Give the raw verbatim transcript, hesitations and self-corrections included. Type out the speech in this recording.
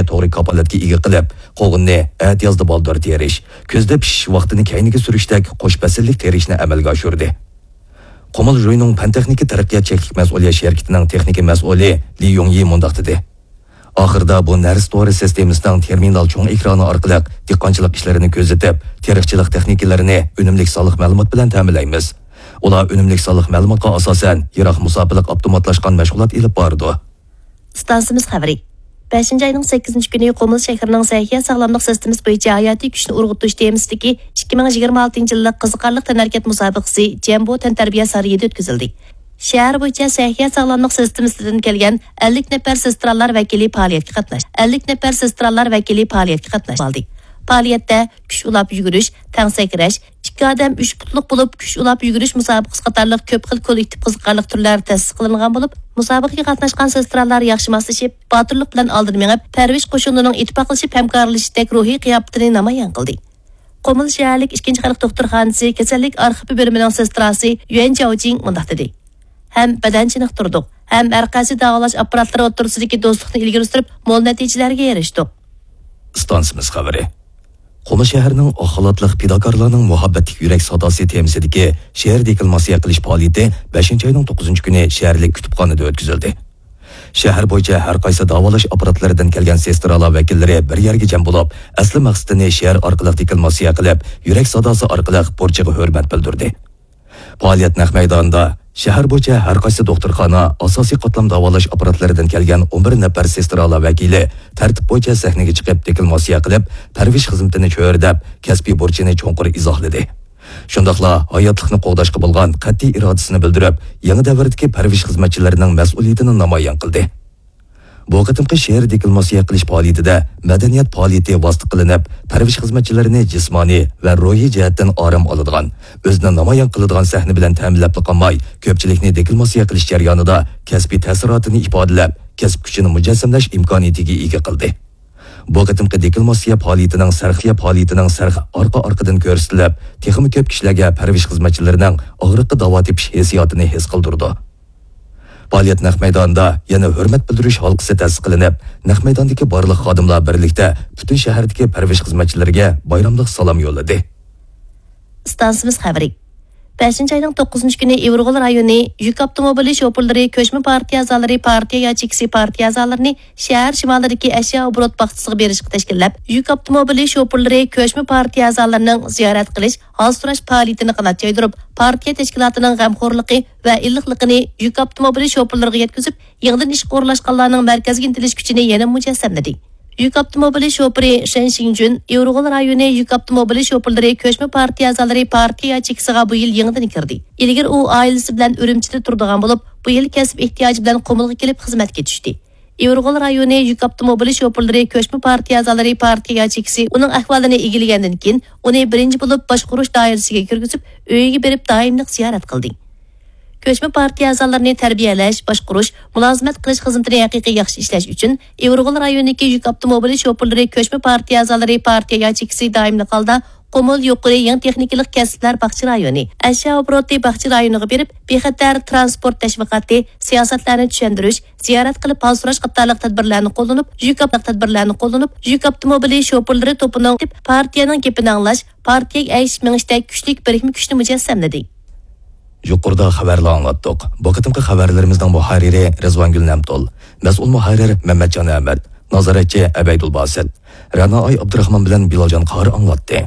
توغرا كاپالەتكە ئىگە قىلىپ، قوغۇننى ئەتىيازدا بالدۇر تېرىش، كۈزدە پىشىش ۋاقتىنى كەينىگە سۈرۈشتەك قوش پەسىللىك تېرىشنى ئەمەلگە ئاشۇردى. قۇمۇل ژۇينىڭ پەن تېخنىكا تەرەققىيات چەكلىك مەسئۇلىيەت شىركىتىنىڭ تېخنىكا مەسئۇلى لى يۇڭيى مۇنداق دېدى: ئاخىرىدا بۇ نەرسە تورى سىستېمىسىنىڭ تېرمىنال چوڭ ئېكرانى ئارقىلىق دېھقانچىلىق ئىشلىرىنى كۆزىتىپ، تېرىقچىلىق تېخنىكىلىرىنى ئۈنۈملۈك سانلىق مەلۇمات بىلەن تەمىنلەيمىز. ئۇلار ئۈنۈملۈك سانلىق مەلۇماتقا ئاساسەن يىراق مۇساپىلىك ئاپتوماتلاشقان مەشغۇلات ئېلىپ بارىدۇ. ئىستانسىمىز خەۋىرى. بەشىنچى ئاينىڭ سەككىزىنچى كۈنى قۇمۇل شەھىرىنىڭ سەھىيە ساغلاملىق سىستېمىسى بويىچە ھاياتىي كۈچنى ئۇرغۇتۇش تېمىسىدىكى ئىككى مىڭ يىگىرمە ئالتىنچى يىللىق قىزىقارلىق تەنھەرىكەت مۇسابىقىسى جەمبو تەنتەربىيە سارىيىدا ئۆتكۈزۈلدى. شەھەر بويىچە سەھىيە ساغلاملىق سىستېمىسىدىن كەلگەن ئەللىك نەپەر سېسترالار ۋەكىلى پائالىيەتكە قاتناشتى. ئەللىك نەپەر سېسترالار ۋەكىلى پائالىيەتكە قاتناشتى. پائالىيەتتە كۈچ ئۇلاپ يۈگۈرۈش، تەڭ سەكرەش، ئىككى ئادەم ئۈچ پۇتلۇق بولۇپ كۈچ ئۇلاپ يۈگۈرۈش مۇسابىقىسى قاتارلىق كۆپ خىل كوللېكتىپ قىزىقارلىق تۈرلەر تەسىس قىلىنغان بولۇپ، مۇسابىقىگە قاتناشقان سېسترالار ياخشى ماسلىشىپ، باتۇرلۇق بىلەن ئالدىن مېڭىپ، پەرۋىش قوشۇنىنىڭ ئىتتىپاقلىشىپ ھەمكارلىشىشتەك روھىي قىياپىتىنى نامايان قىلدى. قۇمۇل شەھەرلىك ئىككىنچى خەلق دوختۇرخانىسى كېسەللىك ئارخىپى بۆلۈمىنىڭ سېستراسى يۈەن جياۋجىڭ مۇنداق دېدى: ھەم بەدەن چېنىقتۇردۇق، ھەم ھەر قايسى داۋالاش ئاپپاراتلىرى ئوتتۇرىسىدىكى دوستلۇقنى ئىلگىرى سۈرۈپ، مول نەتىجىلەرگە ئېرىشتۇق. ئىستانسىمىز خەۋىرى. قۇمۇل شەھىرىنىڭ ئاق خالاتلىق پىداكارلارنىڭ مۇھەببەتلىك يۈرەك ساداسى تېمىسىدىكى شېئىر دېكلاماتسىيە قىلىش پائالىيىتى بەشىنچى ئاينىڭ توققۇزىنچى كۈنى شەھەرلىك كۇتۇپخانىدا ئۆتكۈزۈلدى. شەھەر بويىچە ھەر قايسى داۋالاش ئاپپاراتلىرىدىن كەلگەن سېسترالار ۋەكىللىرى بىر يەرگە جەم بولۇپ، ئەسلى مەقسىتىنى شېئىر ئارقىلىق دېكلاماتسىيە قىلىپ، يۈرەك ساداسى ئارقىلىق بۇرچىغا ھۆرمەت بىلدۈردى. پائالىيەت نەق مەيدانىدا شەھەر بويىچە ھەر قايسى دوختۇرخانا، ئاساسىي قاتلام داۋالاش ئاپپاراتلىرىدىن كەلگەن ئون بىر نەپەر سېسترالار ۋەكىلى تەرتىپ بويىچە سەھنىگە چىقىپ، دېكلاماتسىيە قىلىپ، پەرۋىش خىزمىتىنى چۆرىدەپ، كەسپىي بۇرچىنى چوڭقۇر ئىزاھلىدى. شۇنداقلا ھاياتلىقنى قوغداشقا بولغان قەتئىي ئىرادىسىنى بىلدۈرۈپ، يېڭى دەۋردىكى پەرۋىش خىزمەتچىلىرىنىڭ مەسئۇلىيىتىنى نامايان قىلدى. بۇ قېتىمقى شېئىر دېكلاماتسىيە قىلىش پائالىيىتىدە مەدەنىيەت پائالىيىتى ۋاسىتە قىلىنىپ، پەرۋىش خىزمەتچىلىرىنى جىسمانىي ۋە روھىي جەھەتتىن ئارام ئالىدىغان، ئۆزىنى نامايان قىلىدىغان سەھنە بىلەن تەمىنلەپلا قالماي، كۆپچىلىكنى دېكلاماتسىيە قىلىش جەريانىدا كەسپىي تەسىراتىنى ئىپادىلەپ، كەسىپ كۈچىنى مۇجەسسەملەش ئىمكانىيىتىگە ئىگە قىلدى. بۇ قېتىمقى دېكلاماتسىيە پائالىيىتىنىڭ سەرخى، پائالىيىتىنىڭ سەرخى ئارقا-ئارقىدىن كۆرسىتىلىپ، تېخىمۇ كۆپ كىشىلەرگە پەرۋىش خىزمەتچىلىرىنىڭ ئاغرىققا داۋا تېپىش ھېسسىياتىنى ھېس قىلدۇرىدۇ. پائالىيەت نەق مەيدانىدا يەنە ھۆرمەت بىلدۈرۈش ھالقىسى تەسىس قىلىنىپ، نەق مەيداندىكى بارلىق خادىملار بىرلىكتە پۈتۈن شەھەردىكى پەرۋىش خىزمەتچىلىرىگە بايراملىق سالام يوللىدى. ئىستانسىمىز خەۋىرى. بەشىنچى ئاينىڭ توققۇزىنچى كۈنى ئىۋىرغول رايونى يۈك ئاپتوموبىلى شوپۇرلىرى كۆچمە پارتىيە ئەزالىرى پارتىيە ياچېيكىسى پارتىيە ئەزالىرىنى شەھەر شىمالىدىكى ئەشيا ئوبوروت باغچىسىغا بېرىشقا تەشكىللەپ، يۈك ئاپتوموبىلى شوپۇرلىرى كۆچمە پارتىيە ئەزالىرىنىڭ زىيارەت قىلىش، ھال سوراش پائالىيىتىنى قانات يايدۇرۇپ، پارتىيە تەشكىلاتىنىڭ غەمخورلۇقى ۋە ئىللىقلىقىنى يۈك ئاپتوموبىلى شوپۇرلىرىغا يەتكۈزۈپ، يېڭىدىن ئىشقا ئورۇنلاشقانلارنىڭ مەركەزگە ئىنتىلىش كۈچىنى يەنە مۇجەسسەملىدى. يۈك ئاپتوموبىلى شوپۇرى شەن شىڭجۈن ئىۋىرغول رايونى يۈك ئاپتوموبىلى شوپۇرلىرى كۆچمە پارتىيە ئەزالىرى پارتىيە ياچېيكىسىغا بۇ يىل يېڭىدىن كىردى. ئىلگىرى ئۇ ئائىلىسى بىلەن ئۈرۈمچىدە تۇرىدىغان بولۇپ، بۇ يىل كەسىپ ئېھتىياجى بىلەن قۇمۇلغا كېلىپ خىزمەتكە چۈشتى. ئىۋىرغول رايونى يۈك ئاپتوموبىلى شوپۇرلىرى كۆچمە پارتىيە ئەزالىرى پارتىيە ياچېيكىسى ئۇنىڭ ئەھۋالىنى ئىگىلىگەندىن كېيىن، ئۇنى بىرىنچى بولۇپ باشقۇرۇش دائىرىسىگە كىرگۈزۈپ، ئۆيىگە بېرىپ دائىملىق زىيارەت قىلدى. كۆچمە پارتىيە ئەزالىرىنى تەربىيەلەش، باشقۇرۇش، مۇلازىمەت قىلىش خىزمىتىنى ھەقىقىي ياخشى ئىشلەش ئۈچۈن ئىۋىرغول رايونىدىكى يۈك ئاپتوموبىلى شوپۇرلىرى كۆچمە پارتىيە ئەزالىرى پارتىيە ياچېيكىسى دائىملىق ھالدا قۇمۇل يۇقىرى يېڭى تېخنىكىلىق كەسىپلەر باغچە رايونى، ئەشيا ئوبوروتى باغچە رايونىغا بېرىپ، بىخەتەر تىرانسپورت تەشۋىقاتى، سىياسەتلەرنى چۈشەندۈرۈش، زىيارەت قىلىپ ھال سوراش قاتارلىق تەدبىرلەرنى قوللىنىپ، يۈك ئاپ-، تەدبىرلەرنى قوللىنىپ، يۈك ئاپتوموبىلى شوپۇرلىرى توپىنىڭ پارتىيەنىڭ گېپىنى ئاڭلاش، پارتىيەگە ئەگىشىپ مېڭىشتەك كۈچلۈك بىرىكمە كۈچنى مۇجەسسەملىدى. يۇقىرىدا خەۋەرلەر ئاڭلاتتۇق. بۇ قېتىمقى خەۋەرلىرىمىزنىڭ مۇھەررىرى رىزۋانگۈل نەمتۇل، مەسئۇل مۇھەررىر مەمەتجان ئەمەت، نازارەتچى ئەبەيدۇل باسىت، رەنائاي ئابدۇراخمان بىلەن بىلالجان قارى ئاڭلاتتى.